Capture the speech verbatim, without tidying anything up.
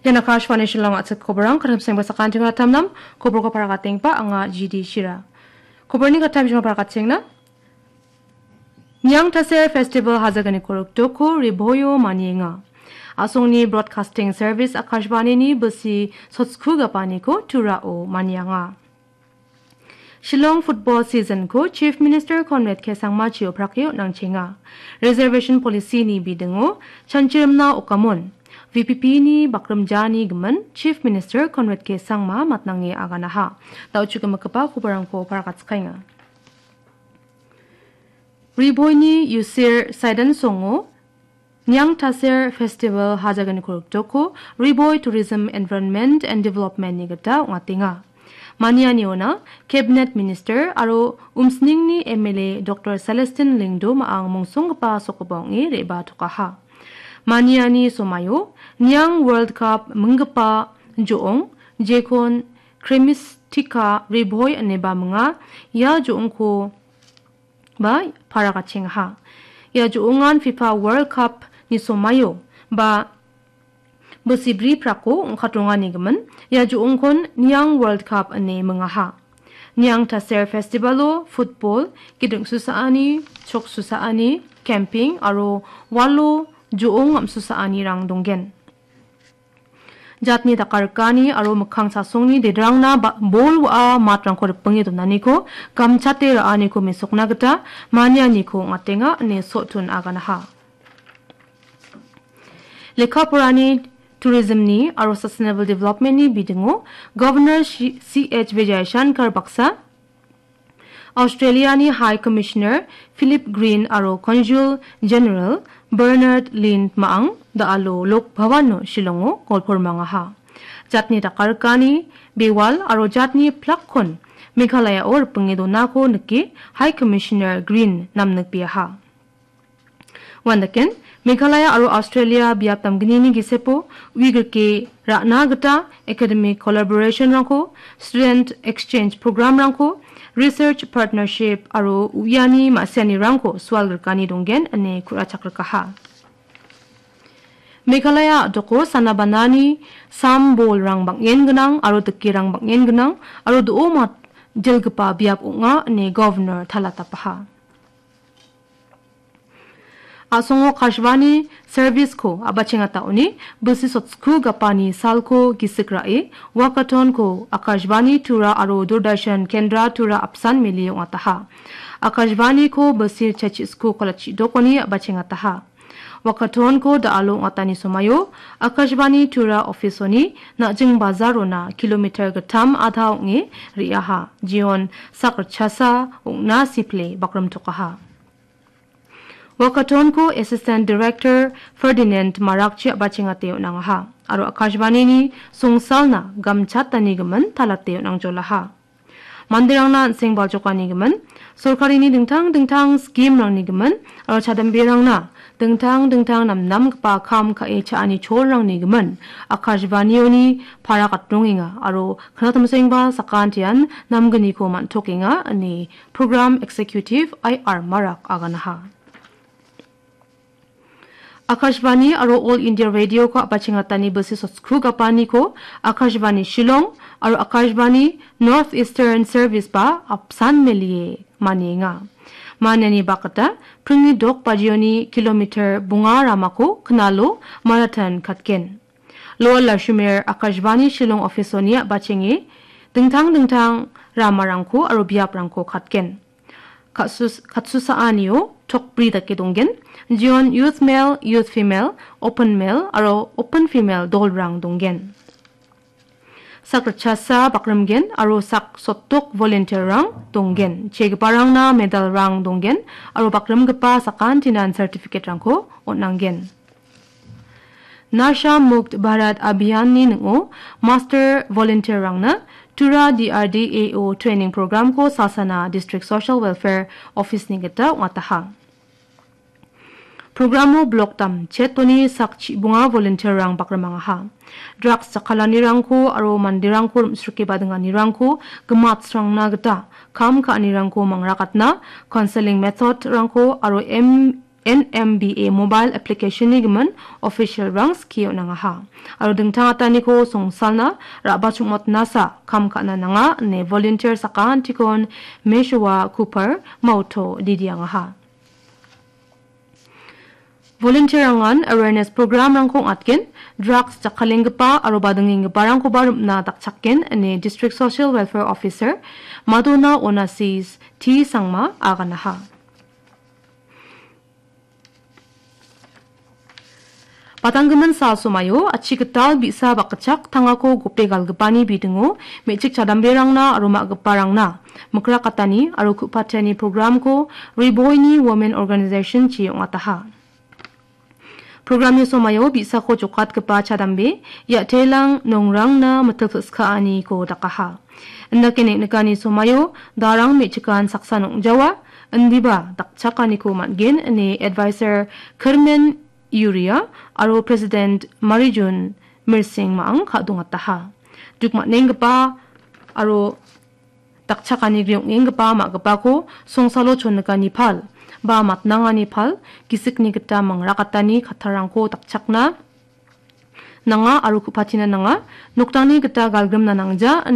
Ian Akashvani Shillong a·chik koborang, karim sengba sakantiara tamnam, koborko paragatengipa anga G D Shira. Koborni katta bijima paragatenga. Niang Taser Festival hajaganiko rikdoko Riboio manienga. A·songni Broadcasting Service Akashvanini bisi sotsku gapaniko Turao manianga. Shillong football season-ko Chief Minister Conrad K Sangma chio prake on·angchenga. Reservation policy-ni bidingo chanchirimna okamon V P P-ni bakrimjani gimin Chief Minister Conrad K Sangma matnange aganaha. Da·o chukemikgipa koborangko paragatskenga. Riboini Yusir Saidan Songo Niang Taser Festival hajaganiko rikdoko Riboi Tourism Environment and Development-ni gita ong·atenga. Manianiona Cabinet Minister aro Umsningni M L A Doctor Celestine Lyngdoh ma·ang mongsonggipa sokgipa ong·e re·batokaha. Maniani somaio Niang World Cup minggipa jo·ong, jekon Cremistica Riboi ineba minga, ia jo·ongko ba paragachengaha. Ia jo·ongan fifa World Cup-ni somaio ba bisi bri prako ong·katrongani gimin, ia jo·ongkon Niang World Cup ine mingaha. Niang Taser Festival-o football, giding susaani, chok susaani, camping aro walo jo·ong am·susaanirang donggen. Jatni dakarikani aro mikkang chasongni dedrangna ba-, bol wa·a matrangko ripinge donaniko gamchate ra·aniko mesokna gita manianiko ong·atenga ine Sotun aganaha. Lekka porani, tourism-ni aro sustainable development-ni bidingo Governor Shi-, C H Vijayashankar baksa Australia-ni High Commissioner Philip Green aro Consul General Bernard Lynn ma·ang da·alo Lok Bhavan-o Shillong-o golpormangaha. Jatni dakarikani bewal aro jatni plakkon Meghalaya-o ripinge donako nike High Commissioner Green namnikbeaha. Uandaken, Meghalaya aro Australia biap damgnini gisepo uigrike ra·na gita academic collaboration-rangko, student exchange program-rangko, research partnership aro uiani ma·sianirangko sualgrikani donggen ine ku·rachakrikaha. Meghalaya a·doko sanabanani sam bolrang bang·en gnang aro dikerang bang·en gnang aro do·o mat-, dilgipa biap ong·a ine Governor talatapaha. A·songo Akashvani service-ko a·bachengataoni bisi sotsku gapani salko gisik ra·e, walkathon-ko Akashvani Tura aro Doordarshan Kendra Tura apsan mele ong·ataha. Akashvani-ko bisi chachiko kalachi dokoni a·bachengataha. Walkathon-ko da·alo ong·atani somaio Akashvani Tura office-oni Na·jing Bazarona kilometer gittam adha ong·e re·aha. Jeon sak ritchasa ong·na sipile bakrimtokaha. Walkathon-ko Assistant Director Ferdinand Marakchi a·bachengate on·angaha aro Akashvanini songsalna gamchatanigimin talate on·angjolaha. Manderangna an·seng baljokanigimin, sorkarini dingtang dingtang scheme-rangnigimin aro chadamberangna dingtang dingtang namnamgipa kam ka·e cha·ani cholrangnigimin Akashvanioni para katrongenga aro knatamsengba sakantian namgniko man·tokenga ine Program Executive I R Marak aganaha. Akashvani aro All India Radio-ko a·bachengatani bisi sotsku gapaniko Akashvani Shillong aro Akashvani North Eastern Service-ba apsan melie manienga. Maniani bakgita pringni dok bajioni kilometer bonga ramako knalo marathon katgen. Lower Lashumer Akashvani Shillong office-oni a·bachenge dingtang dingtang ramarangko aro biaprangko katgen. Katsus-, katsusaanio tokbri dake donggen. Jeon youth male, youth female, open male aro open female dolrang donggen. Sak ritchasa bakrimgen aro sak sotdok volunteer-rang donggen. Chegiparangna medal-rang donggen aro bakrimgipa sakantinan certificate-rangko on·anggen. Nasha Mukt Bharat Abhiyan-ni ning·o master volunteer-rangna Tura D R D A O training program-ko Salsana District Social Welfare Office-ni gita ong·ataha. Programo blok damchetoni sak chibonga volunteer-rang bakrimangaha. Drugs jakkalanirangko aro manderangko rim·srike badinganirangko gimatsrangna gita kam ka·anirangko mangrakatna, counseling method-rangko aro M N M B A mobile application-ni gimin official-rang skie on·angaha. Aro dingtang ataniko songsalna ra·bachongmotnasa kam ka·na nanga ine volunteer sakantikon Meshowa Cooper Mauto didiangaha. Volunteer-rangan awareness program-rangko ong·atgen, drugs jakkalenggipa aro badingenggiparangkoba rim·na dakchakgen ine District Social Welfare Officer Madona Onasis T Sangma aganaha. Patanggimin sal somaio achi gital bi·sa bakgitchak tangako gope galgipani bidingo me·chik chadamberangna aro ma·giparangna mikrakatani aro ku·patiani programko Riboini Women Organization-chi ong·ataha. Programni somaio bi·sako jokatgipa chadambe, ia·telang nongrangna mitil pil·skaaniko dakaha. Indake neng·nikani somaio darang me·chikan saksa nong·jawa, indiba dakchakaniko man·gen ine Advisor Kirmen Yuria aro President Marijun Mirsing ma·ang ka·dongataha. Duk man·enggipa aro dakchakani griong·enggipa ma·gipako songsalo chonnikani pal ba matnangani pal, gisikni gita mangrakatani kattarangko dakchakna nanga aro ku·patina nanga, nokdangni gita galgrimna nangja,